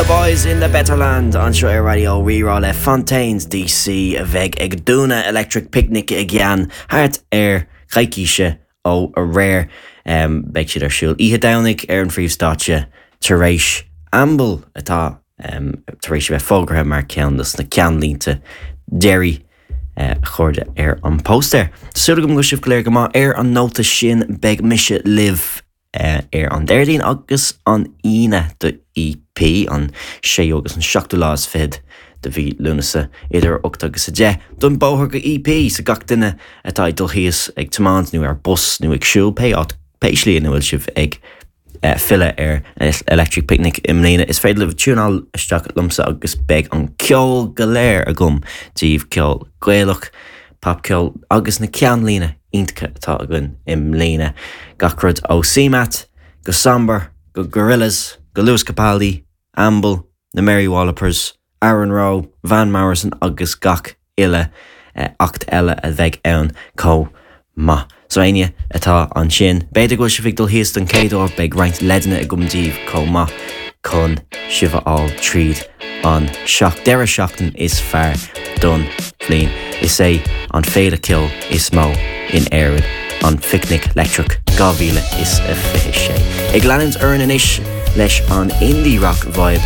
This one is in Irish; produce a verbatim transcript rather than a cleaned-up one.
The Boys in the Better Land anseo ar Raidió Rí-Rá le Fontaines DC a bheidh ag dúnadh Electric Picnic i gceann thart ar choicíse ó aréir um, beidh siad ar siúl oíche Domhnaigh ar an phríomhstáitse tar éis Amble atá um, tar éis bheith fógartha mar ceann dos na ceannlínte deiridh uh, chuirde ar an póstaer. Súil agam go sibh go léir go maith ar an nóta sin beidh mise libh uh, ar an Déardaoin agus an Aoine do EP an séú agus an seachtú lá is fiche de mhí Lúnasa idir ocht agus a deich don bóthar go EP sa gach duine atá ag dul thíos ag tiomáint nó ar bus nó ag siúl pé áit pé slí ina bhfuil sibh ag uh, filleadh ar Electric Picnic i mbliana is féidir libh tiúnáil isteach liomsa agus beidh an ceol go léir agam daoibh ceol Gaelach, popcheol agus na ceannlíne iontacha atá againn i mbliana gach rud ó CMAT go Somber go Gorillaz go Lewis Capaldi, Amble, na Mary Wallopers, Aaron Rowe, Van Morrison agus gach uile uh, act eile a bheidh ann chomh maith. So éinne atá ansin, B'fhéidir go bhfuil sibh ag dul thíos don chéad uair beidh roinnt leideanna agam daoibh chomh maith chun sibh a fháil tríd an seach deireadh seachtain is fearr don bhliain. Is é an féile ceoil is mó in Éirinn an Phicnic Leictreach dhá mhíle is a fiche sé. Ag leanúint orainn anois leis an indie rock vibe